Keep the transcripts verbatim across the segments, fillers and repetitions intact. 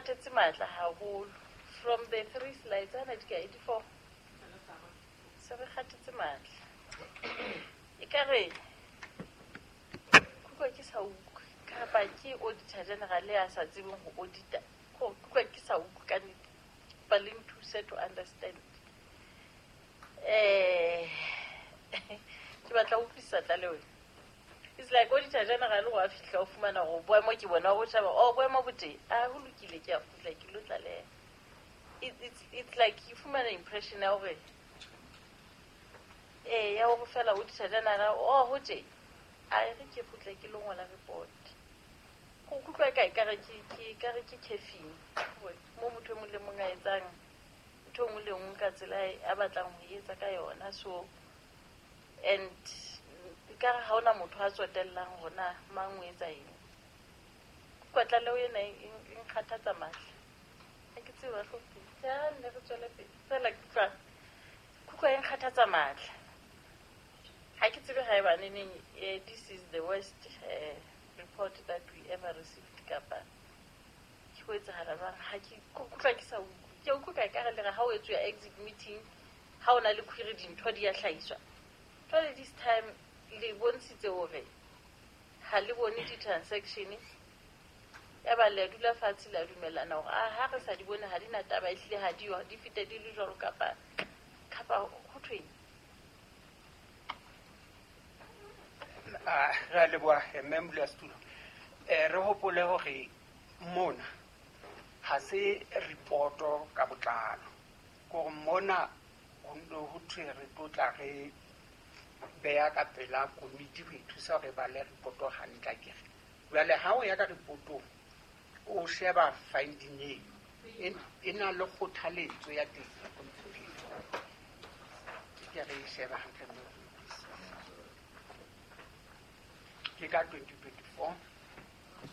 nkgathetse matla haholo. From the three slides ana di ka eighty-four. Se re kgathetse matla. Ekare kutlwa ke sa utlwe kapa ke auditor general ya sa tsebeng ho audita. Ko kutlwa ke sa utlwe ka nnete. Ba le nthuse to understand. Eh ke batla ho utlwisisa tlaleho. It's like auditor general wa fihla o fumana hore boemo ke bona o tshaba oh boemo bo teng a ho lokile ke a kgutla ke lo tlaleha. It, it's, it's like you fumana impression ya hore eh ya hore fela auditor general oh ho teng a re ke kgutla ke lo ngola report. Go kutlwa ka ekare ke ke ekare ke caffeine mo motho e mong le mong a etsang ntho e nngwe le nngwe ka tsela a batlang ho etsa ka yona. So and ekare ha hona motho a tsotellang hore na mang o etsa eng. Kutlwa tlaleho ena e nkgathatsa matla. Ha ke tsebe bahlomphehi. Ja nne re tswele pele. Fela ke utlwa kutlwa e nkgathatsa matla. Ha ke tsebe haeba neneng this is the worst uh, report that we ever received kapa ke ho etsahala jwang. Ha ke kutlwa ke sa utlwe. Ke utlwa ka ekare le re ha o etswa exit meeting ha o na le query dintho di a hlahiswa. Jwale this time le bontshitse hore ha le bone di-transaction ya ba le dula fatshe la dumellana hore ah ha re sa di bone ha di na taba ehlile ha di yo di fete di le jwalo kapa kapa ho thweng. Ah re a leboha mme modulasetulo. Eh re hopole hore mona ha se reporto ka botlalo. Kore mona ho no ho thwe re tlo tla re beha ka pela komiti ho ithusa hore ba le reporto hantle akere. Jwale ha o ya ka reportong o sheba finding eo e na le kgothaletso ya teng. Ke re e sheba hantle mme ke ka twenty twenty-four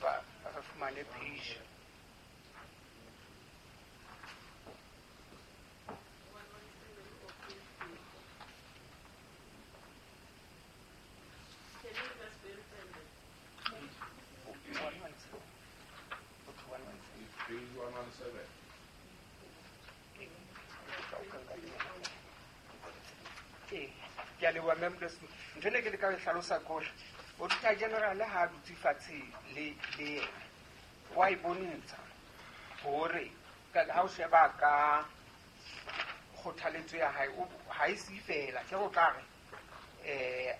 ba re fumane page one one seven. Ke a leboha mme modulasetulo. Ntho ene ke leka ho e hlalosa ke hore auditor general ha a dutse fatshe le le yena wa e bontsha hore ha o sheba ka kgothaletso ya hae ha e se fela ke ho tla re eh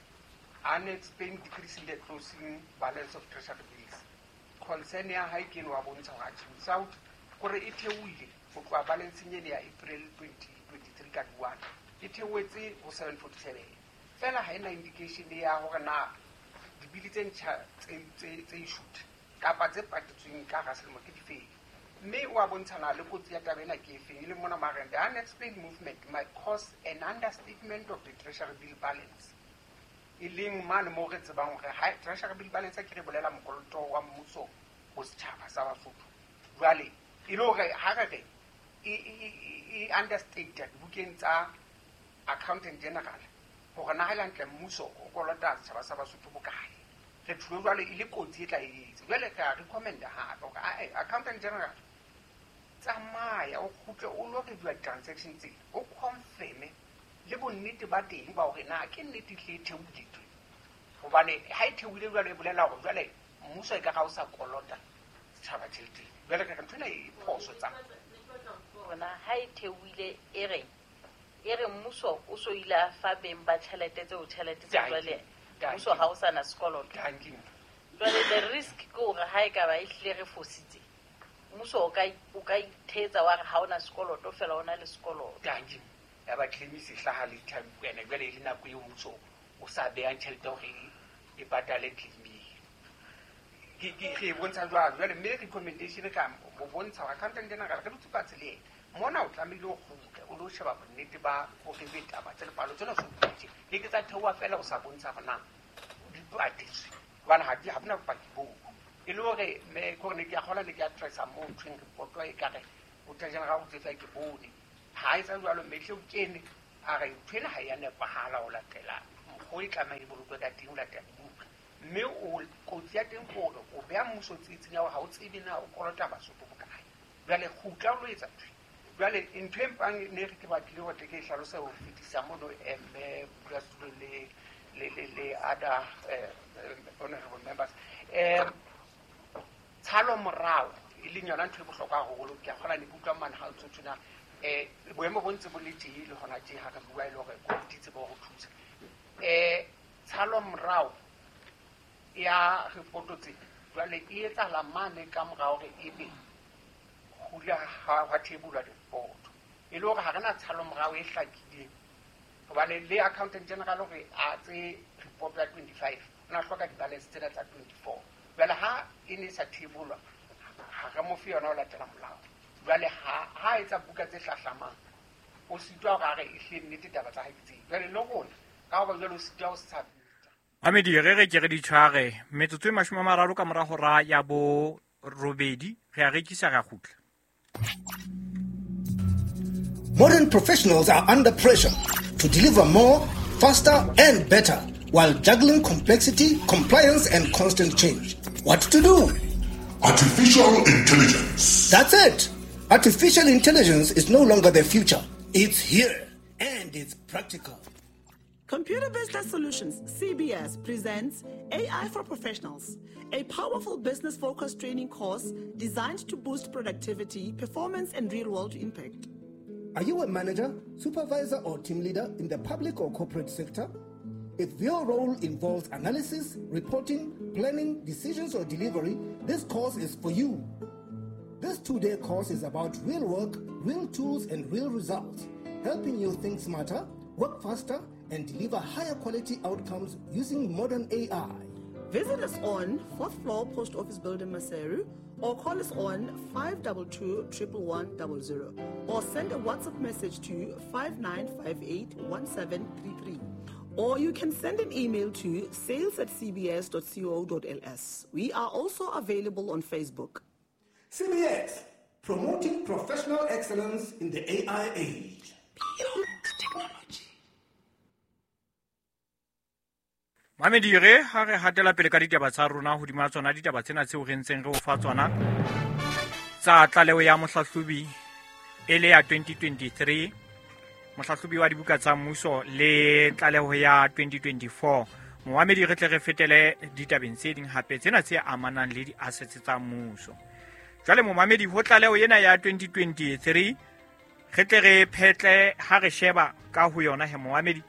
unexplained decrease in the closing balance of treasury bills. Concern ya hae ke wa bontsha hore without hore e theohile ho tloha balanceng ene ya April twenty twenty-three ka one e theohetse ho seven forty-seven. Fela ha ena indication ya hore na dibili tse ntjha tse tse tse issued kapa tse patetsweng ka hara selemo ke difeng. Mme wa bontshana le kotsi ya taba ena ke efeng e leng mona mareng the unexplained movement might cause an understatement of the treasury bill balance. E leng mane moo re tsebang hore ha treasury bill balance ke re bolela mokoloto wa mmuso ho setjhaba sa Basotho. Jwale e le hore ha re re e e understated bukeng tsa accountant general hore na ha le hantle mmuso o kolota setjhaba sa Basotho bokae. Re thulo jwale e le kotsi e tla etsa. Jwale re a recommend hape hore accountant general tsamaya o kgutle o lo review transaction tsena o confirm le bonnete ba teng ba hore na ke nnete hle e theohile tje. Hobane ha e theohile jwale e bolela hore jwale mmuso e ka ga o sa kolota setjhaba tjhelete. Jwale ka ntho ena e phoso tsa rona ha e theohile e reng e re mmuso o so ile a fa beng ba tjhelete tseo tjhelete tse jwale mmuso ha o sa na sekoloto. Jwale the risk ke hore ha e ka ba e hlile re fositse mmuso o ka o ka ithetsa wa re ha ona sekoloto fela ona le sekoloto. Dankie. Ya ba claim se hlaha le time ene jwale e le nako eo mmuso o sa behang tjhelete hore e patale claim. Ke ke re bontsha jwalo jwale mme recommendation ka mo bontsha hore accountant general re dutse fatshe le yena mona o tlamehile o kgutle o lo sheba bonnete ba hore be taba tse lepalo tsena so tje le ke tsa theoha fela o sa bontsha hore na di patetswe hobane ha di ha bona bopaki boo. E le hore me ke hore ne ke a kgola ne ke a tracer moo nthweng report e ka re auditor general o tsefa ke bone ha e tsa jwalo mme hle o kene a re ntho ena ha ya nepahala ho latela mokgwa e tlameha e bolokwe ka teng ho latela dibuka. Mme o kotsi ya teng ke hore o beha mmuso tsietsing ya hore ha o tsebe na o kolota Basotho bokae. Jwale kgutla o lo etsa ntho. Jwale ntho e mpang ne re ke batlile hore ke e hlalose ho fetisa mono mme modulasetulo le le le le other honorable members. Um tshalo morao e leng yona ntho e bohlokwa haholo ke a kgona ne ke utlwa mane ha o ntso tjena eh boemo bo ntse bo le teng le hona tje ha re bua e le hore komiti tsebe ho thusa. Eh tshalo morao ya reporto tse jwale e etsahala mane ka morao hore ebe hula ha ha thebulwa report e le hore ha re na tshalo morao e hlakileng hobane le accountant general hore a tse report ya twenty-five o na hloka di-balance tsena tsa twenty-four. Jwale ha e ne sa thebulwa ha re mo fe yona ho latela molao. Jwale ha ha etsa buka tse hlahlamang o sitwa hore a re ehlile nnete taba tsa hae ke tse. Jwale le rona ka hoba jwale o sitwa ho submit. Mamedi re re ke re di tshware metsotso e mashome a mararo ka mora hora ya bo robedi re a rekisa ra kgutla. Modern professionals are under pressure to deliver more, faster and better while juggling complexity, compliance and constant change. What to do? Artificial intelligence. That's it. Artificial intelligence is no longer the future. It's here and it's practical. Computer Business Solutions, C B S, presents A I for Professionals, a powerful business-focused training course designed to boost productivity, performance, and real-world impact. Are you a manager, supervisor, or team leader in the public or corporate sector? If your role involves analysis, reporting, planning, decisions, or delivery, this course is for you. This two-day course is about real work, real tools, and real results, helping you think smarter, work faster, and deliver higher quality outcomes using modern A I. Visit us on fourth floor Post Office Building, Maseru, or call us on five two two, one one one zero zero, or send a WhatsApp message to five nine five eight, one seven three three. Or you can send an email to sales at c b s dot co dot l s. We are also available on Facebook. C B S, promoting professional excellence in the A I age. Beyond technology. Mamedi re ha re hatela pele ka ditaba tsa rona hodima tsona ditaba tsena tseo re ntseng re o fa tsona tsa tlaleho ya mohlahlobi e le ya twenty twenty-three mohlahlobi wa dibuka tsa mmuso le tlaleho ya twenty twenty-four. Momamedi re tle re fetele ditabeng tse ding hape tsena tse amanang le di-assets tsa mmuso. Jwale momamedi ho tlaleho ena ya twenty twenty-three re tle re phetle ha re sheba ka ho yona he momamedi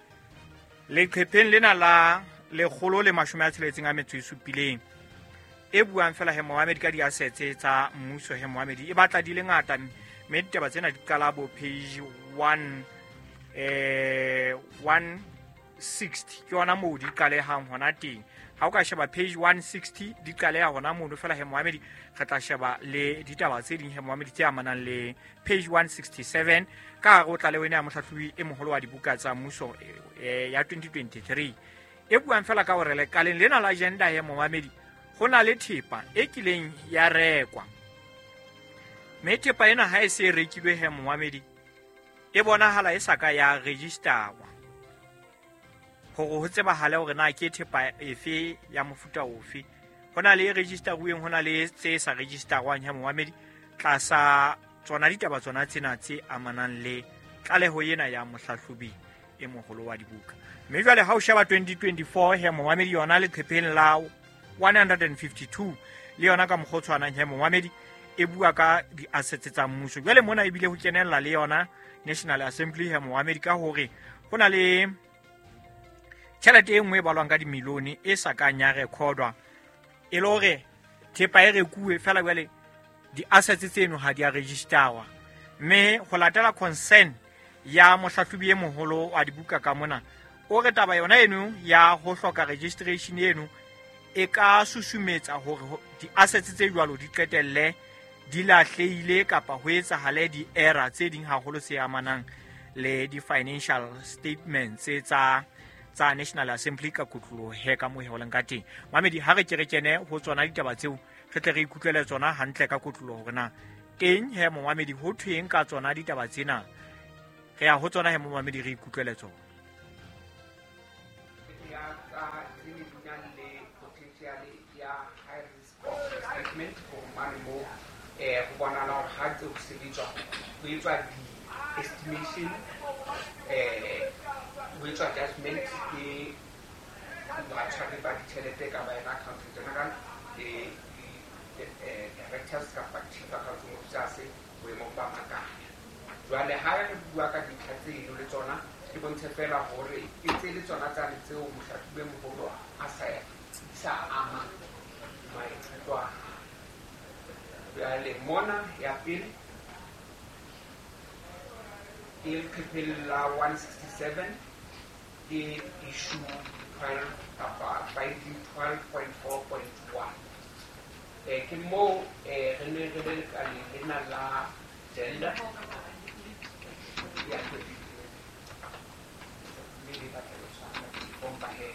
leqhepheng lena la lekgolo le mashome a tsheletseng a metso e supileng e buang fela he momamedi ka di-assets tsa mmuso he momamedi e batla di le ngata mme ditaba tsena di qala bo page one eh one sixty ke yona moo di qalehang hona teng. Ha o ka sheba page one sixty di qaleha hona mono fela he momamedi re tla sheba le ditaba tse ding he momamedi tse amanang le page one sixty-seven ka hare o tlaleho ena ya mohlahlobi e moholo wa dibuka tsa mmuso ya twenty twenty-three e buang fela ka hore lekaleng lena la agenda he momamedi ho na le thepa e kileng ya rekwa mme thepa ena ha e se e rekilwe he momamedi e bonahala e sa ka ya registerwa hore ho tsebahale hore na ke thepa efe ya mofuta ofe. Ho na le e registeruweng, ho na le tse sa registerwang he momamedi tlasa tsona ditaba tsona tsena tse amanang le tlaleho ena ya mohlahlobi e moholo wa dibuka. Mme jwale ha o sheba twenty twenty-four he momamedi yona leqhepheng la one fifty-two le yona ka mokgwa o tshwanang he momamedi e bua ka di-assets tsa mmuso. Jwale mona ebile ho kenella le yona National Assembly he momamedi ka hore ho na le tjhelete e nngwe e balwang ka dimilione e sa kang ya recordwa e le hore thepa e rekuwe fela jwale di-assets tseno ha di a registerwa. Mme ho latela concern ya mohlahlobi e moholo wa dibuka ka mona o re taba yona eno ya ho hloka registration eno e ka susumetsa hore di-assets tse jwalo di qetelle di lahlehile kapa ho etsahale di-error tse ding haholo tse amanang le di-financial statements tsa tsa National Assembly ka kotloloho he ka moo he ho leng ka teng. Mamedi ha re ke re kene ho tsona ditaba tseo re tle re ikutlwele tsona hantle ka kotloloho hore na teng he momamedi ho thweng ka tsona ditaba tsena. Re ya ho tsona he momamedi re ikutlwele tsona. Ya tsa tse ne di nang le potential ya high risk of misstatement ho mane mo Eh ho bonahala hore ha ntse ho sebetswa ho etswa di-estimation, eh ho etswa judgment ke batshwari ba ditjhelete ka ba yena accountant general le directors kapa chief accounting officers boemong ba makala. Jwale ha re bua ka dintlha tseno le tsona ke bontshe fela hore e tse le tsona tsane tseo mohlahlobi moholo a sa sa ama maikutlo a hae. Jwale mona ya pele ke leqepheng la one sixty-seven ke issue twelve kapa finding twelve point four point one. Eh ke moo eh re ne re le lekaleng lena la gender ya twenty le le batla ho tshwana bomba he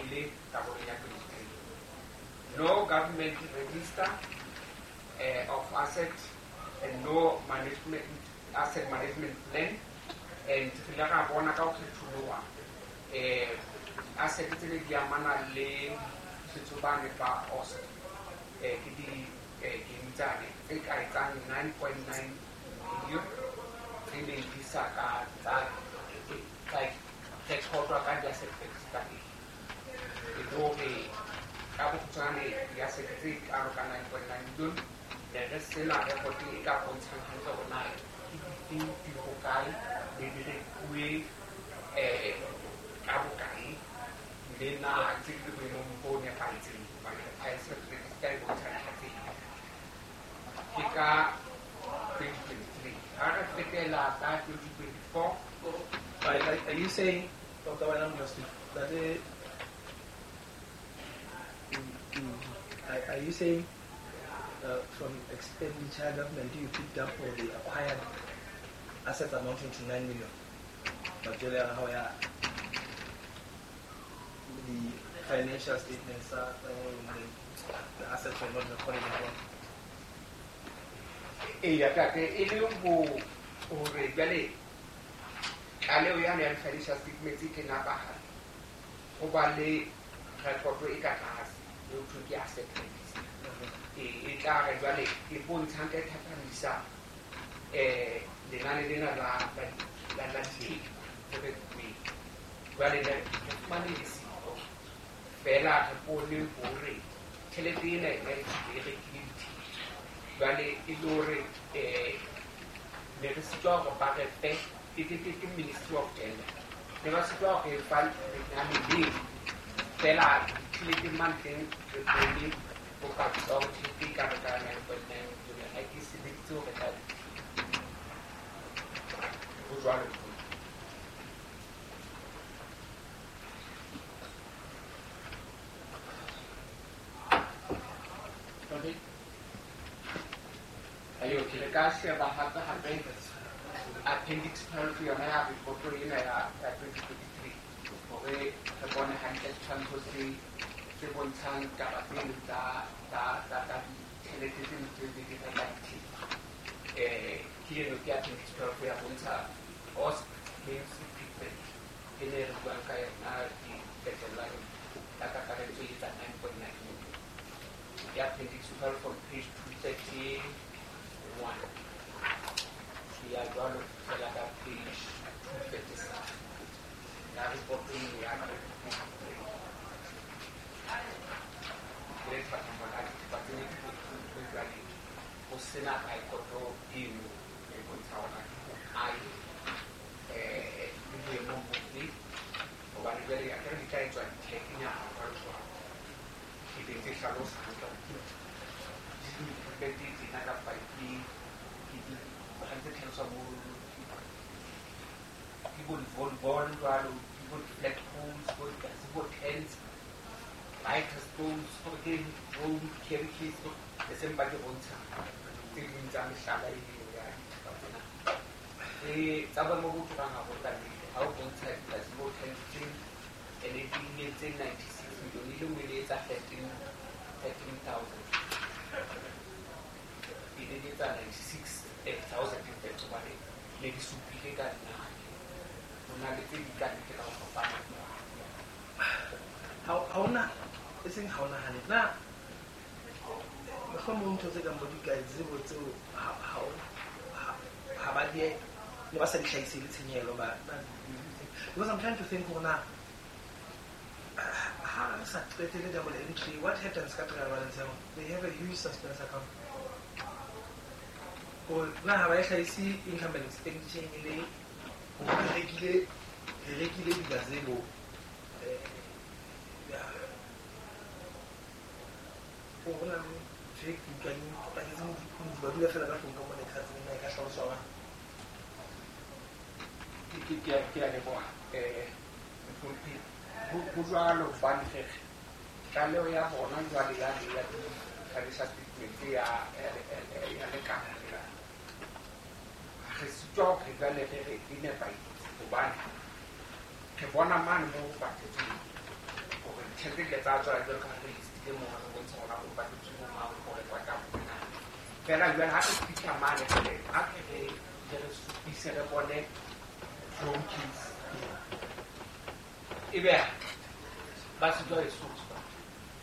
e le karolo ya twenty-three. No government register eh, of assets and no management asset management plan, and re ile ra bona ka ho kgetholoha eh asset tse ne di amana le setsobane ba O S C eh ke di eh game tsane tse ka etsang nine point nine million tse neng di sa ka tsa tsa rekordwa ka di-asset register e le hore ka bokgutshwane di-asset tse kalo ka nine point nine million ne re sena record e ka bontshang hantle hore na ke difeng di hokae le di rekuwe eh ka bokae le na tse di le boemong bo nepahetseng hobane asset register e bontsha ntlha tse. Ke ka twenty twenty-three ha re fetela ka twenty twenty-four. Are, are you saying, Doctor Wainam, that the, are, are you saying uh, from expenditure government you picked up or the acquired assets amounting to nine million? But how the financial statements are, um, the assets were not recorded as well. Eya tate e le ho hore jwale tlaleho yane ya di-financial statements e ke nepahala ho ba le rekoto e ka tlase e ho thwe ke asset register. E e tla re jwale e bontsha hantle e thathamisa eh lenane lena la la la la dithepa tse rekuweng. Jwale ne re fumane le siko fela re bone hore tjhelete ena ena e rekile dithepa. Jwale e le hore eh ne re sitwa hore ba re fe ke ke ke Ministry of Gender ne ba sitwa hore fa lenane leo fela tjhelete mane teng re bone bopaki ba hore tjhelete e kalo ka nine point nine million ha ke sebeditse ho reka ho jwalo. Okay. Ayo, ke re ka sheba hape hape appendix twelve yona ya reporto ena ya ya twenty twenty-three hore re bone hantle setshwantsho se se bontshang taba tseno tsa tsa tsa tsa ditjhelete tse ntse di di reka dithepa. Eh ke eno ke appendix twelve ya bontsha O S C games equipment e ne re buang ka yona di qetellang ka kakaretso e etsa nine point nine million. Ke appendix twelve on page two thirty-one. Ya jwalo fela ka page two thirty-seven ya report eno ya twenty twenty-three. Ke le thathamo la dithepa tse ne di rekuwe jwale ho sena rekoto eno e bontsha hore ke hokae eh le boemong bofe hobane jwale akere di tla etswa di-check-nyana jwalo jwalo e be tse hlalosa hantle hore ke di-equipment tsena kapa ke ke di ha ntse tlhaloswa mo ke bo di-volleyball jwalo ke bo di-flat poles bo di-gazebo tents lighter stones hore ke drone carry case e seng ba ke bontsha tse ding tsa mehlala eo ya dithepa tsena. Eh tsa boemo bo turang haholo ka nnete ha o bontsha di-gazebo tents tse ene di ne tse ninety-six million e le nngwe e ne etsa thirteen thirteen thousand e ne di etsa ninety-six thousand in fact hobane ne di supile ka nna ho na le tse di ka ntle ka ho fapana. Ha ha ona e seng ha ona hantle na Mohlomong ntho tse kang bo di-gazebo tseo ha ba di ne ba sa di hlahise le tshenyehelo ba because I'm trying to think hore na ha re sa qetele double entry, what happens ka trial balance ya bona? They have a huge suspense account. Or na ha ba e hlahise income and expenditure e le hore re rekile re rekile di-gazebo o bona ntho e ke utlwang paketse ba dula fela ka tlung ka mona ka tsena e ka hlaloswa ba ke ke ke a leboha eh ho jwalo hobane re tlaleho ya bona jwale ya ya financial statement ya ya lekala re sitwa hore jwale re re e nepahetse hobane re bona mane moo ho patetsweng hore ditjhelete di tsa tswa jwalo ka ha re listile moo re bontsha hore ho patetswe bo mang ho rekwa ka bona fela jwale ha re fihla mane re ha re re supise re bone phone keys ebe ba sitwa e supa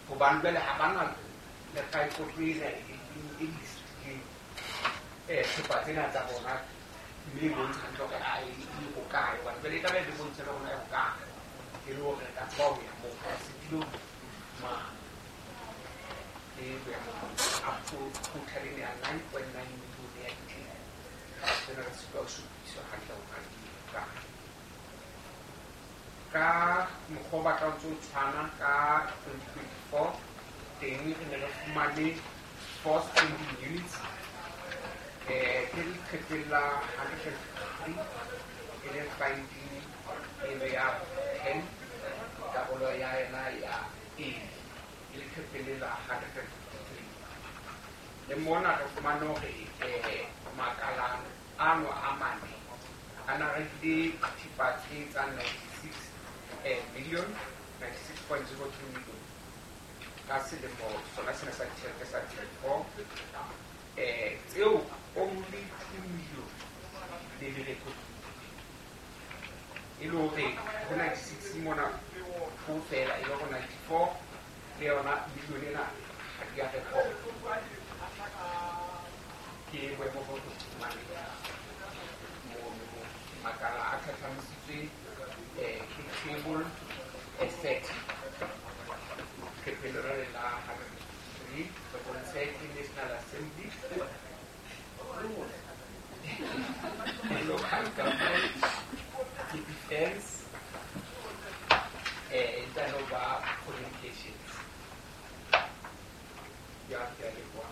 hobane jwale ha bana le record ena e listileng eh thepa tsena tsa bona mme e bontsha hantle hore a e hokae hobane jwale e tlabe e bontsha le rona e hokae e le hore re ka tseba ho ya moo re setile ma e boemo up to total ena ya nine point nine million ya ditjhelete tsena re sitwa ho supiswa hantle hore di hokae ka mokgwa o batla o ntso tshwana ka twenty twenty-four teng re ne re fumane four spending units eh ke leqepheng la hundred and fifty-three e le finding eno ya ten karolo ya yona ya A e leqepheng la hundred and fifty-three le mona re fumane hore eh makala ano a mane a na rekile thepa tse tsa ninety-six million ninety-six point zero two million ka selemo sona sena sa ditjhelete sa twenty-four eh tseo only two million le le rekodile e le hore ho ninety-six mona ho fela e le hore ninety-four le yona million ena ha di a record ke boemo bo re fumaneng mono makala a thathamisitswe eh ke table asset leqepheng lona la hundred and fifty-three re bontshe ke National Assembly local government ke defense eh internal communications ya ke a leboha.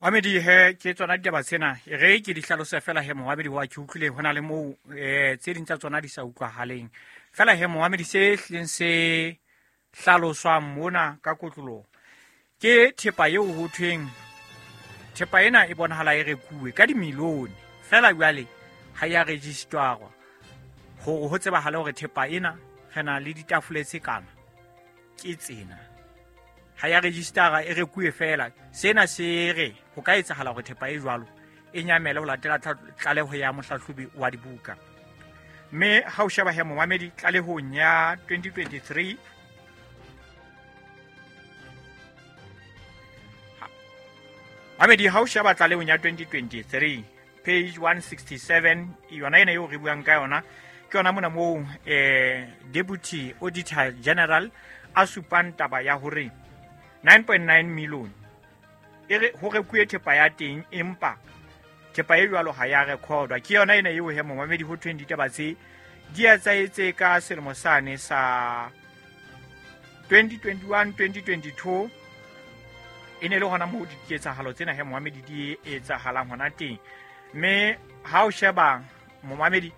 Moamedi he ke tsona ditaba tsena e re ke di hlalose fela he moamedi wa ke utlwile ho na le moo eh tse ding tsa tsona di sa utlwahaleng fela he moamedi se hlileng se hlaloswang mona ka kotloloho ke thepa eo ho thweng thepa ena e bonahala e rekuwe ka dimilione fela jwale ha ya registerwa hore ho tsebahale hore thepa ena re na le ditafole tse kana ke tsena ha ya registera e rekuwe fela sena se re ho ka etsahala hore thepa e jwalo e nyamele ho latela tlaleho ya mohlahlobi wa dibuka mme ha o sheba he momamedi tlalehong ya twenty twenty-three mamedi ha o sheba tlalehong ya twenty twenty-three page one sixty-seven yona ena eo re buang ka yona ke yona mona moo eh deputy auditor general a supang taba ya hore nine point nine million e re ho rekuwe thepa ya teng empa thepa e jwalo ha ya recordwa ke yona ena eo he momamedi ho thweng ditaba tse di etsahetse ka selemo sane sa twenty twenty-one twenty twenty-two e ne le hona moo diketsahalo tsena he momamedi di etsahalang hona teng mme ha o sheba momamedi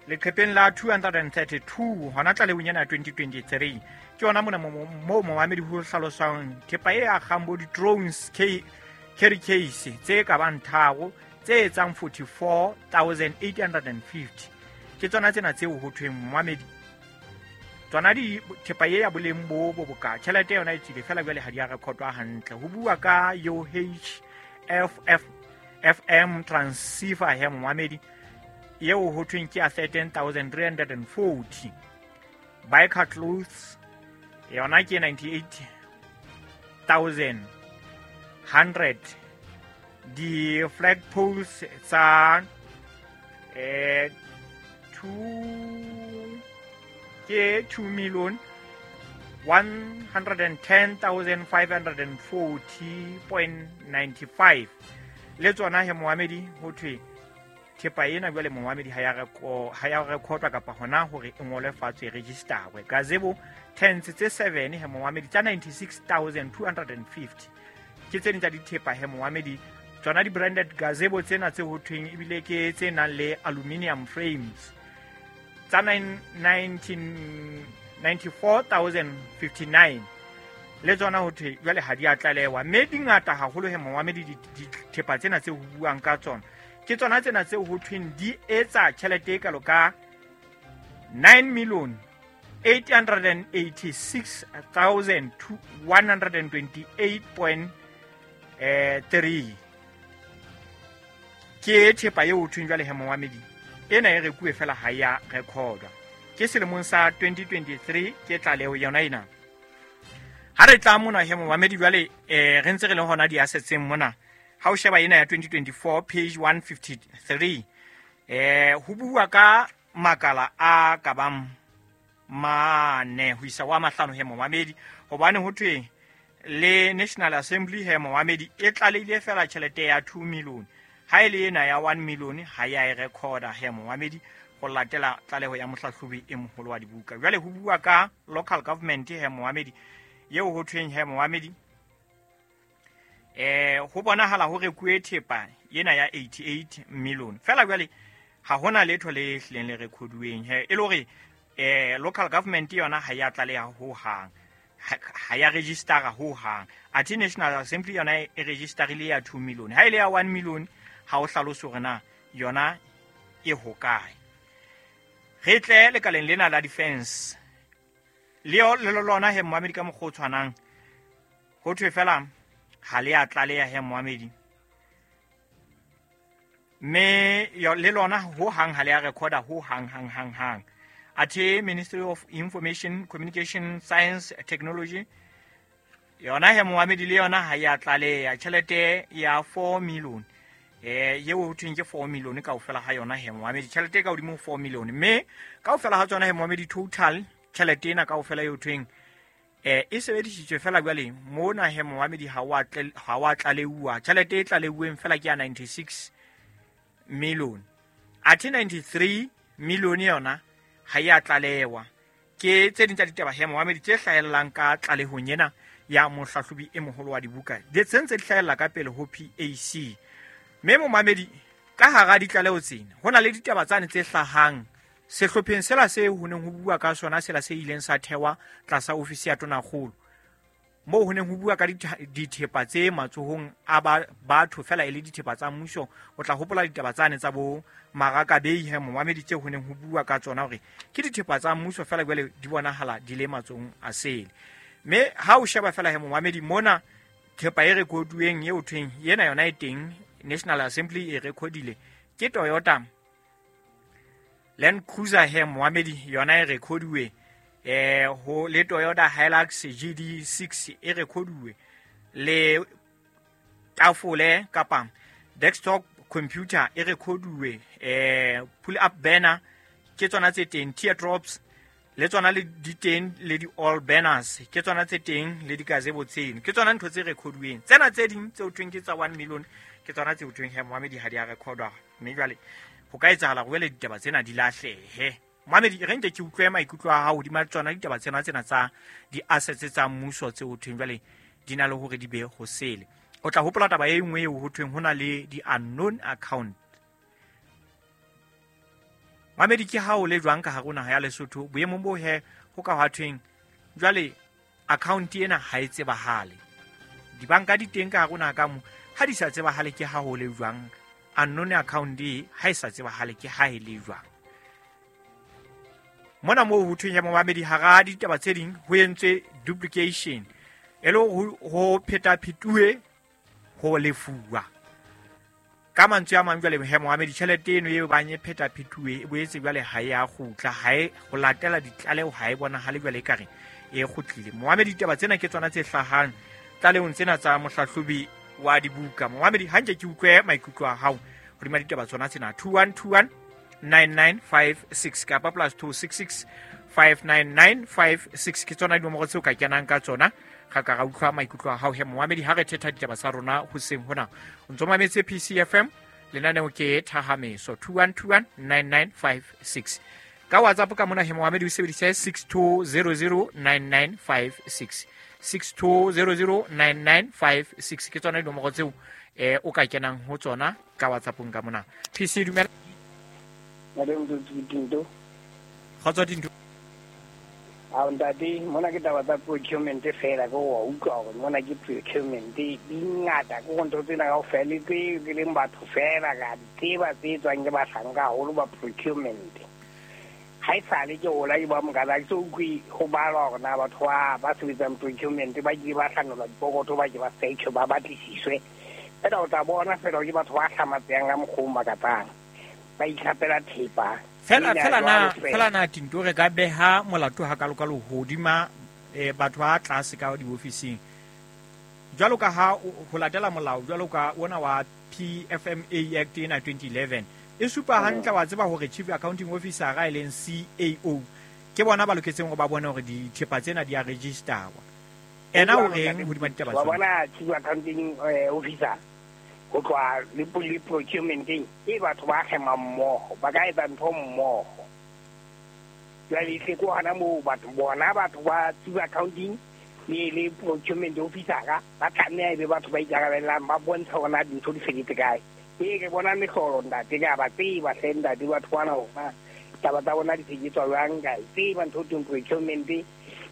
leqepheng la two hundred thirty-two hona tlalehong ena ya twenty twenty-three ke yona mona moo momamedi ho hlaloswang thepa e akgang bo di-drones carry case tse ka bang tharo tse etsang forty-four thousand eight hundred fifty ke tsona tsena tseo ho thweng momamedi tsona di thepa e ya boleng bo bo boka tjhelete yona e tswile fela jwale ha di a recordwa hantle ho bua ka U H F F F M transceiver he momamedi eo ho thweng ke ya thirteen thousand three hundred and forty. Biker clothes yona ke ninety-eight thousand hundred. Di-flag poles tsa eh two ke two million one hundred and ten thousand five hundred and forty point ninety-five. Le tsona he moamedi ho thwe thepa ena jwale moamedi ha ya reko ha ya rekotwa kapa hona hore e ngolwe fatshe e registerwe. Gazebo tents tse seven he moamedi tsa ninety-six thousand two hundred and fifty. Ke tse ding tsa dithepa he moamedi tsona di branded gazebo tsena tse ho thweng ebile ke tse nang le aluminium frames tsa nineteen ninety-four thousand fifty-nine. Le tsona ho thwe jwale ha di a tlalewa mme di ngata haholo he moamedi dithepa tsena tse ho buang ka tsona ke tsona tsena tse ho thweng di etsa tjhelete e kalo ka nine million eight hundred and eighty-six thousand one hundred and twenty-eight point three. Ke thepa eo ho thweng jwale he moamedi ena e rekuwe fela ha ya recordwa. Ke selemong sa twenty twenty-three ke tlaleho yona ena. Ha re tla mona he moamedi jwale eh re ntse re le hona di-assetseng mona. Ha o sheba ena ya twenty twenty-four page one fifty-three eh ho bua ka makala a ka bang mane ho isa wa mahlano he moamedi hobane ho thwe le National Assembly he moamedi e tlalehile fela tjhelete ya two million. Ha ile ena ya one million ha ya e recorda he moamedi go latela tlaleho ya mohlahlobi e moholo wa dibuka. Jwale ho bua ka local government he moamedi eo ho thweng he moamedi eh ho bonahala ho rekuwe thepa ena ya eighty-eight million. Fela jwale ha hona letho le hlileng le recorduweng he e le hore eh local government yona ha ya tlaleha ho hang, ha ya registera ho hang. Athe National Assembly yona e registerile ya two million. Ha ile ya one million ha o hlalose hore na yona e hokae. Re tle lekaleng lena la defense le le lona he moamedi ka mokgwa o tshwanang ho thwe fela ha le a tlaleha he moamedi mme le lona ho hang ha le a recorda ho hang hang hang hang. Athe Ministry of Information Communication Science Technology yona he moamedi le yona ha ya tlaleha tjhelete ya four million eh yeo ho thweng ke four million kaofela ha yona he moamedi tjhelete ka hodimo four million mme kaofela ha tsona he moamedi total tjhelete ena kaofela eo thweng eh e sebedisitswe fela jwale mona he moamedi ha wa ha wa tlaleuwa tjhelete e tlaleuweng fela ke ya ninety-six million. Athe ninety-three million yona ha ya tlalewa. Ke tse ding tsa ditaba he moamedi tse hlahellang ka tlalehong ena ya mohlahlobi e moholo wa dibuka di tse ntse di hlahella ka pele ho P A C. Mme momamedi ka hara ditlaleho tsena ho na le ditaba tsane tse hlahang sehlopheng sela se ho neng ho bua ka sona sela se ileng sa thewa tlasa ofisi ya Tonakgolo moo ho neng ho bua ka dithepa tse matsohong a batho fela e le dithepa tsa mmuso. O tla hopola ditaba tsane tsa bo Marakabei he momamedi tse ho neng ho bua ka tsona hore ke dithepa tsa mmuso fela jwale di bonahala di le matsohong a sele. Mme ha o sheba fela he momamedi mona thepa e rekoduweng eo thweng yena yona e teng National Assembly e recordile ke Toyota Land Cruiser he moamedi yona e recorduwe eh ho le Toyota Hilux G D six e recorduwe le tafole kapa desktop computer e recorduwe eh pull up banner ke tsona tse teng, teardrops le tsona le di teng le di all banners ke tsona tse teng le di gazebo tseno ke tsona ntho tse recorduweng. Tsena tse ding tse o thweng ke tsa one million ke tsona tse o thweng he moamedi ha di a recordwa mme jwale ho ka etsahala hore le ditaba tsena di lahlehe. Moamedi re nke ke utlwe maikutlo a hao hodima tsona ditaba tsena tsena tsa di-assets tsa mmuso tse ho thweng jwale di na le hore di be ho sele. O tla hopola taba e nngwe eo ho thweng ho na le di-unknown account. Moamedi ke ha o le jwang ka hare ho naha ya Lesotho boemong bo he ho ka hwa thweng jwale account ena ha e tsebahale. Dibanka di teng ka hare ho naha ka mo ha di sa tsebahale ke ha ho le jwang unknown account e ha e sa tsebahale ke ha e le jwang. Mona moo ho thweng ya momamedi hara ditaba tse ding ho entswe duplication e le ho pheta phetuwe ho lefuwa. Ka mantswe a mang jwale he Mohamedi tjhelete eno eo bang e phetaphetuwe e boetse jwale ha e a kgutla, ha e ho latela ditlaleho ha e bonahale jwale ekare e kgutlile. Mohamedi ditaba tsena ke tsona tse hlahang tlalehong tsena tsa mohlahlobi wa dibuka. Mohamedi hanke ke utlwe maikutlo a hao hodima ditaba tsona tsena. Two one two one nine nine five six kapa plus two six six five nine nine five six ke tsona dinomoro tseo ka kenang ka tsona. Ga ka ra utlwa maikutlo a hao he Mohamedi ha re thetha ditaba tsa rona hoseng hona. O ntso mametse P C F M, lenaneo ke Thahameso. Two one two one nine nine five six. Ka WhatsApp ka mona he Mohamedi o sebedisa six two zero zero nine nine five six. six two zero zero nine nine five six ke tsona dinomoro tseo eh o ka kenang ho tsona ka WhatsAppong ka mona. P C dumela. Madam Kgotso Dinto. A ntate mona ke taba tsa procurement fela ke wa utlwa hore mona ke procurement di ngata ke go ntho tsena kaofela le tse ke leng batho fela ka di tseba tse tswang ke bahlanka haholo ba procurement. Ha e sale ke hola ke ba mokana ke so utlwe ho balwa hore na batho ba ba sebetsang procurement ba ke ba hlanolwa dipokotho ba ke ba search ba batlisiswe. Fela o tla bona fela ke batho ba hlamatseyang ka mokgwa o makatsang ba itlhapela thepa. Fela fela na fela na Tinto re ka beha molato ha kalokalo hodima eh batho ba tlase ka diofising. Jwalo ka ha ho latela molao jwalo ka ona wa P F M A Act ena twenty eleven e supa hantle wa tseba hore Chief Accounting Officer ga e leng C A O ke bona ba loketseng go ba bone hore dithepa tsena di a registerwa. Ena o reng hodima ditaba tsena? Wa bona Chief Accounting Officer ho tloha le le procurementeng e batho ba kgema mmoho ba ka etsa ntho mmoho. Jwale e ko hana moo batho bona batho ba chief accounting le le procurement officer ba tlameha ebe batho ba ikarabellang ba bontsha hore na dintho di feditse kae. Ee ke bona mehlolo ntate ke a ba tseba hle ntate batho bana hore taba tsa bona di sebetswa jwang ka e tseba ntho teng procurement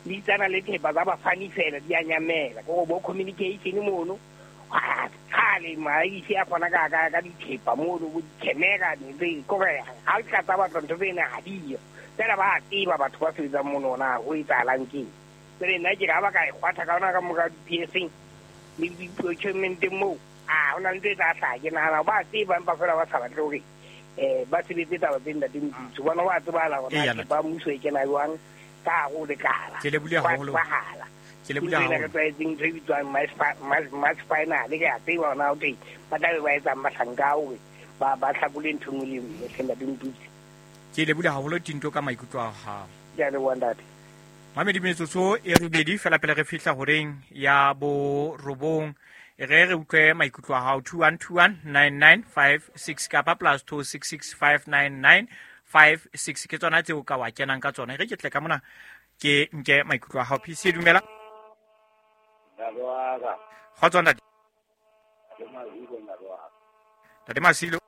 di tsana le thepa tsa bafani fela di a nyamela ke go bo communication mono. Kgale maisi a kgona ka ka ka dithepa mono bo dikemera ne kore ha o tla tsa batho ntho tsena ha diyo fela ba tseba batho ba sebetsang mono na ho etsahalang keng. Jwale nna ke ka ba ka e kgwatha ka ona ka moka di-P S le di-procurement moo a hona le ntho e tla hlaha. Ke nahana ba tseba empa fela ba sa batle hore um ba sebetse taba tse ntate Moputso bona wa tsebahala hore na ba mmuso e kena jwang ka hare ho lekala. Ke lebohile haholo. Ke lebohile haholo. Re tlwaetseng ntho e bitswang match final ke a tseba hore na o teng ba tlabe ba etsang bahlanka hore ba ba hlakole ntho e nngwe le e nngwe hle ntate Moputso. Ke lebohile haholo Tinto ka maikutlo a hao. Ke a leboha ntate. Mamedi metsotso e robedi fela pele re fihla horeng ya bo robong. E re re utlwe maikutlo a hao. Two one two one nine nine five six kapa plus two six six five nine nine five six ke tsona tseo ka wa kenang ka tsona. E re ke tle ka mona ke nke maikutlo a hao. P C dumela. Kgotso ntate. Ntate Masilo.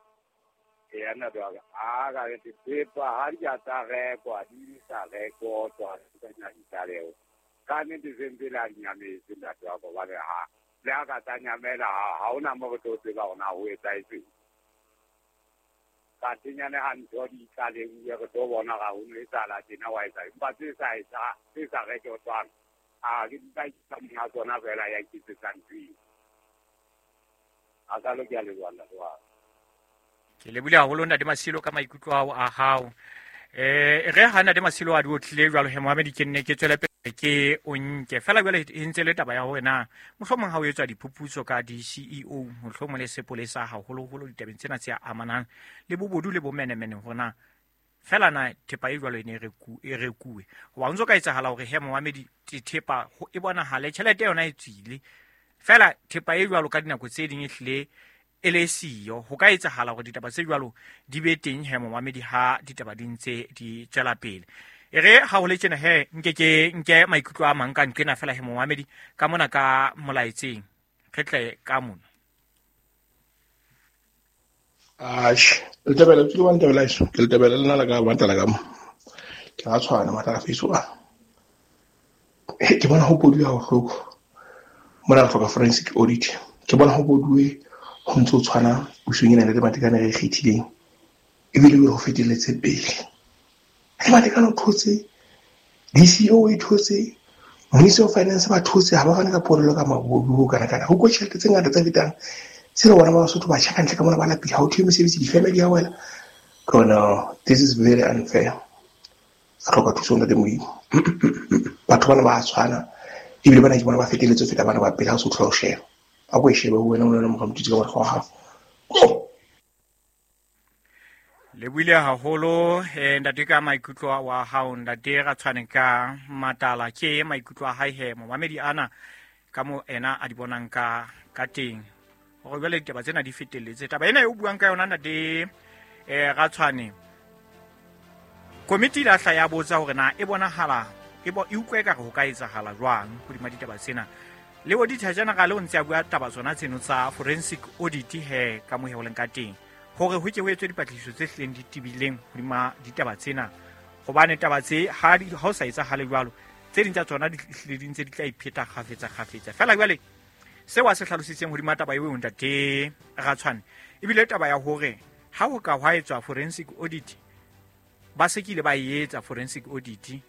Ee ntate wa ka. A ka re dithepa ha di a tsa rekwa di sa rekotwa tsena ditlaleho. Ka nnete sentse le a di nyametse ntate wa ka hobane ha le ha ka tsa nyamela ha hona mo re tlo tseba hore na ho etsahetseng. Ka tenyane ha ntho di tlaleuwe re tlo bona ga ho no etsahala tjena wa etsa empa tse sa etsa tse sa rekotwang a ke di ka monga tsona fela ya iketsetsang ntho eo. A ka lo ke a leboha ntate wa ka. Ke lebohile haholo ntate Masilo ka maikutlo ao a hao. Eh re ha ntate Masilo a di otlile jwalo he Mohamedi ke nne ke tswele pele ke o nke fela jwale e ntse le taba ya hore na mohlomong ha o etswa diphuputso ka di-C E O mohlomong le sepolesa haholoholo ditabeng tsena tse amanang le bobodu le bomenemene hore na fela na thepa e jwalo e ne e rekuwe. Hoba ho ntso ka etsahala hore he Mohamedi thepa e bonahale tjhelete yona e tswile fela thepa e jwalo ka dinako tse ding e hlile e le siyo. Ho ka etsahala hore ditaba tse jwalo di be teng he Mohamedi ha ditaba di ntse di tswela pele. E re ha ho le tjena he nke ke nke maikutlo a mang ka nqena fela he Mohamedi ka mona ka molaetseng re tle ka mona. Ash, le tebele ke wa ntebela iso, ke le tebele lena la ka matla ka mo. Ke a tshwana matla fiso a. Ke bona ho koduwa ho hloko. Mona re hloka forensic audit. Ke bona ho koduwe ho ntso tshwana pusong ena le Matekane re kgethileng. Ebile o re ho fetelletse pele. Le Matekane o thotse, D C O e thotse, Minister of Finance ba thotse ha ba fane ka polelo ka mabodu ho kana kana. Ho ko tjhelete tse ngata tse fetang Se re bona ba Basotho ba tjha kantle ka mona ba lapile, ha o thwe mesebetsi di-family ya wena. No, this is very unfair. Re hloka thuso ntate Modimo. Batho bana ba tshwana ebile bana ke bona ba feteletse feta bana ba pele ha o se o thola ho sheba. A ko e shebe ho wena o nna mora motutsi ka mora wa hao. Le buile haholo eh ntate ka maikutlo wa hao ntate Ratshwane ka Matala ke maikutlo a hae he momamedi ana ka mo ena a di bonang ka ka teng hore jwale ditaba tsena di fetelletse. Taba ena e o buang ka yona ntate eh Ratshwane, komiti la hla ya botsa hore na e bonahala e bo e utlwe ka re ho ka etsahala jwang hodima ditaba tsena. Le auditor general o ntse a bua taba tsona tseno tsa forensic audit he ka mo he o leng ka teng hore ho ke ho etswe dipatlisiso tse hlileng di tebileng hodima ditaba tsena, hobane taba tse ha di ha o sa etsahale jwalo tse ding tsa tsona di hlile di ntse di tla ipheta kgafetsa kgafetsa fela. Jwale seo a se hlalositseng hodima taba eo ntate Ratshwane ebile taba ya hore ha ho ka hwa etswa forensic audit, ba se kile ba e etsa forensic audit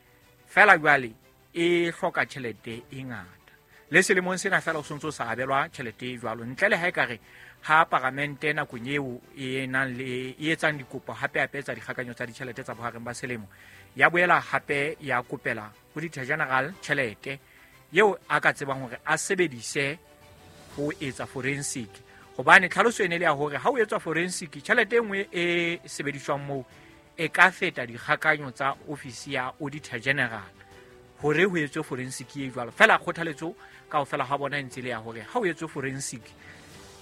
fela jwale e hloka tjhelete e ngata. Le selemong sena fela o sontso sa abelwa tjhelete e jwalo ntle le ha e ka re ha paramente nakong eo e nang le e etsang dikopo hape hape tsa dikgakanyo tsa ditjhelete tsa bohareng ba selemo ya boela hape ya kopela auditor general tjhelete eo a ka tsebang hore a sebedise ho etsa forensic, hobane tlhaloso ene le ya hore ha o etswa forensic tjhelete e nngwe e sebediswang moo e ka feta dikgakanyo tsa ofisi ya auditor general hore ho etswe forensic e jwalo. Fela kgothaletso kaofela ha bona e ntse le ya hore ha o etswe forensic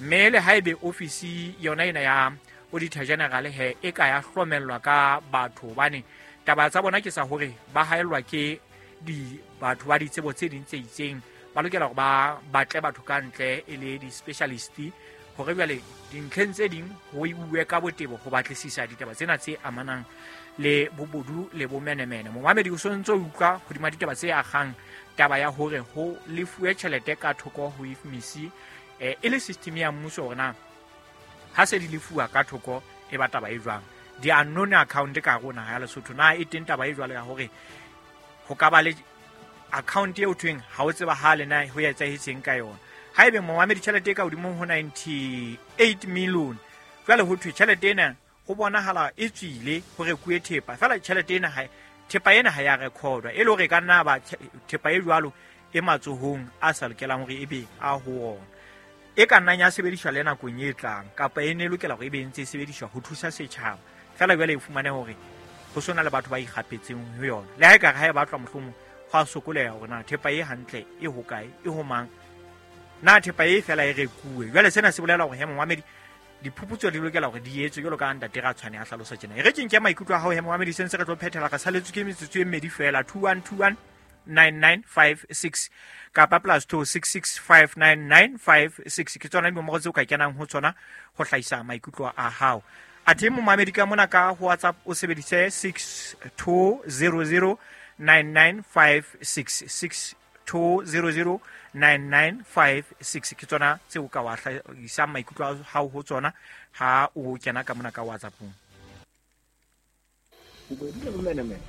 mme le haebe ofisi yona ena ya auditor general he e ka ya hlomellwa ka batho, hobane taba tsa bona ke sa hore ba haellwa ke di batho ba ditsebo tse ding tse itseng, ba lokela hore ba batle batho ka ntle e le di-specialist hore jwale dintlheng tse ding ho iuwe ka botebo ho batlisisa ditaba tsena tse amanang le bobodu le bomenemene. Momamedi o sontso utlwa hodima ditaba tse akgang taba ya hore ho lefuwe tjhelete ka thoko ho I F M C eh e le system ya mmuso hore na ha se di lefuwa ka thoko e ba taba e jwang. Di unknown account ka rona ya Lesotho na e teng taba e jwalo ya hore ho ka ba le account eo thweng ha o tseba ha le na ho etsahetseng ka yona. Haebe momamedi tjhelete e ka hodimo ho ninety-eight million jwale ho thwe tjhelete ena ho bonahala e tswile ho rekuwe thepa fela tjhelete ena ha thepa ena ha ya recordwa e le hore ka nna ba thepa e jwalo e matsohong a sa lokelang hore ebe a ho ona e ka nnang ya sebediswa le nakong e tlang kapa e ne lokela hore ebe e ntse e sebediswa ho thusa setjhaba fela jwale e fumane hore ho sona le batho ba ikgapetseng ho yona. Le ha e ka re ha e batlwa mohlomong ho a sokoleha hore na thepa e hantle e hokae e ho mang, na thepa e fela e rekuwe. Jwale sena se bolela hore he momamedi diphuputso di lokela hore di etswe jwalo ka ntate Ratshwane a hlalosa tjena. E re ke nke maikutlo a hao he momamedi se ntse re tlo phethela re saletswe ke metsotso e mmedi fela two one two one nine nine five six kapa plus two six six five nine nine five six ke tsona dinomoro tseo ka kenang ho tsona ho hlahisa maikutlo a hao. Athe momamedi ka mona ka ho WhatsApp o sebedise six two zero zero nine nine five six six two zero zero nine nine five six ke tsona tseo ka wa hlahisa maikutlo a hao ho tsona ha o kena ka mona ka WhatsApp-ong. Bobodu le bomenemene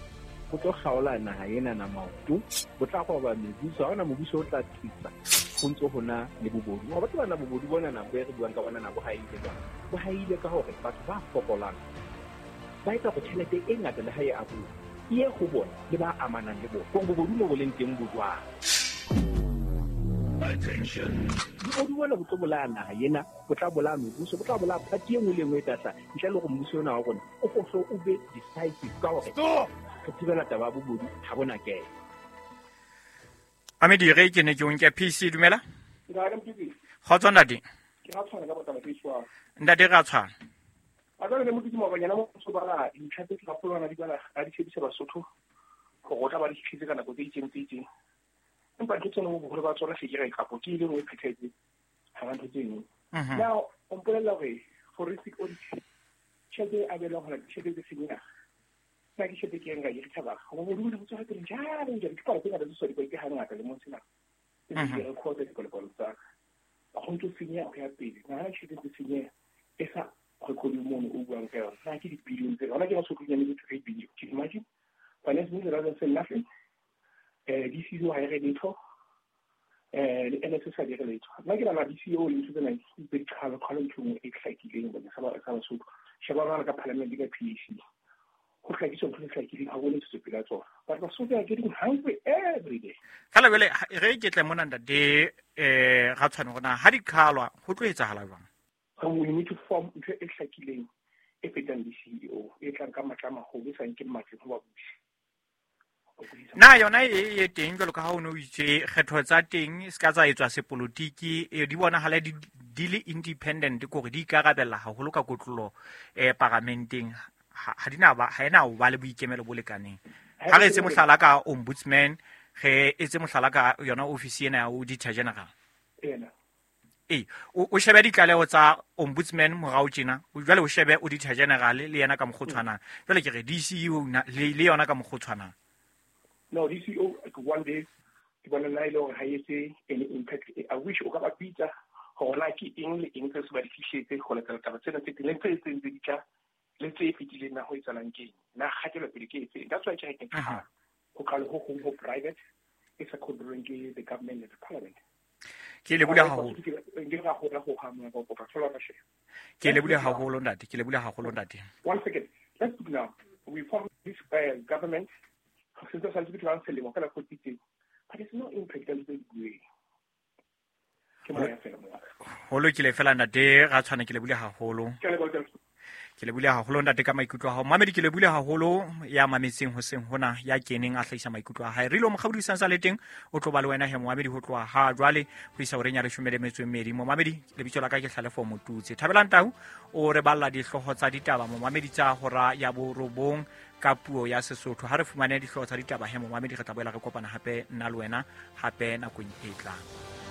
bo tlo kgaola naha ena na maoto, bo tla roba mebuso, ha hona mobuso o tla tsitsa ho ntso hona le bobodu. Wa batho bana bobodu bona na bo re buang ka bona na bo haile jwang? Bo haile ka hore batho ba fokolang ba etsa hore tjhelete e ngata le ha e abuwa e ye ho bona le ba amanang le bona. Hore bobodu mo bo leng teng bo jwang? Attention. Bobodu bona bo tlo bolaya naha ena, bo tla bolaya mebuso, bo tla bolaya party e nngwe le e nngwe e tla hlaha ntle le hore mmuso ona wa rona o hlo o be decisive ka hore re thibela taba ya bobodu ha bona kena. Amedi re ke ne ke o nke P C dumela. Ntate Motiki. Kgotso ntate. Ke Ratshwane ka botaba ke tshwana. Ntate Ratshwane. A ka le Motiki mabanyana mo so bala dintlha tse tsa polwana di bala a di tshebisa Basotho gore o tla ba di fitlhetse ka nako tse itseng tse itseng. Empa ntho tsena boholo ba tsona se ke re kapo ke ile nngwe phethetse ha ba ntho tse nngwe. Now o mpolella hore forensic audit tjhelete e abelwang hore tjhelete tse senyeha nna ke tjhelete ke eng ka e rethabang go bobodu bo tswela pele jalo jalo ke palo tse ngata tse sa di ke hangata lemong sena tse di record dipalopalo tsa ka go ntse senyeha go ya pele nna tjhelete tse senyeha e sa record mono o buang ka yona nna ke di-billion tse hona ke ba sotlonyane ke three billion. Can you imagine? Finance minister doesn't say nothing. Eh D C O ha e re letho. Eh le N S S ha di re letho. Nna ke nahana D C O le ntho tsena di qhalo qhalo ntho e nngwe e hlakileng bakeng sa ba sa Basotho. Sheba bana ka parliament ka P A C. Ho hlakiswa ntho e hlakileng ha bone tswetsopele ya tsona. But Basotho are getting hungry every day. Fela jwale re ke tle mona ntate eh ga tshwane gona ha di qhalwa ho tlo etsahala jwang? We need to form ntho e hlakileng e fetang D C E O e tlang ka matla a maholo e sa nkeng matleng ho babusi. Na yona e e teng jwalo ka ha o no itse kgetho tsa teng se ka tsa etswa sepolotiki e di bonahala di di le independent kore di ikarabella haholo ka kotlolo eh paramenteng ha di na ba ha ena o ba le boikemelo bo lekaneng. Ha re etse mohlala ka ombudsman, re etse mohlala ka yona office ena ya Auditor General. Ena. E o shebe ditlaleho tsa ombudsman morao tjena, jwale o shebe Auditor General le yena ka mokgwa o tshwanang. Jwale ke re D C E O le yona ka mokgwa o tshwanang. No, D C O one day ke bona nna e le hore ha e etse any impact. I wish o ka ba bitsa hore na ke eng le eng tse se ba di fihletse ho latela taba tsena tse teng le tse tse ntse di tla le tse fetileng na ho etsahalang keng na kgatelopele ke efe. That's why ke re ke qala ho qala ho hong ho private e sa controlweng ke the government and the parliament. Ke lebohile haholo. Ke ra ho ho ha mo go kopa thola ka share. Ke lebohile haholo ntate, ke lebohile haholo ntate. One second. Let's look now. We form this uh, government since the selemo fela go titse. But there's no impact on the way. Ke moya fela mo. Ho lokile fela ntate, ga tshwane ke lebohile haholo. Ke lebohile. Ke lebohile haholo ntate ka maikutlo a hao. Mamedi ke lebohile haholo ya mametseng hoseng hona ya keneng a hlahisa maikutlo a hae. Re lo mokgaudisang sa le teng o tlo ba le wena he momamedi ho tloha ha jwale ho isa horeng ya leshome le metso e mmedi. Momamedi lebitso la ka ke Hlalefo Motutse. Thabelang Tau o re balla dihlooho tsa ditaba momamedi tsa hora ya borobong ka puo ya Sesotho. Ha re fumane dihlooho tsa ditaba he momamedi re tla boela re kopana hape nna le wena hape nakong e tlang.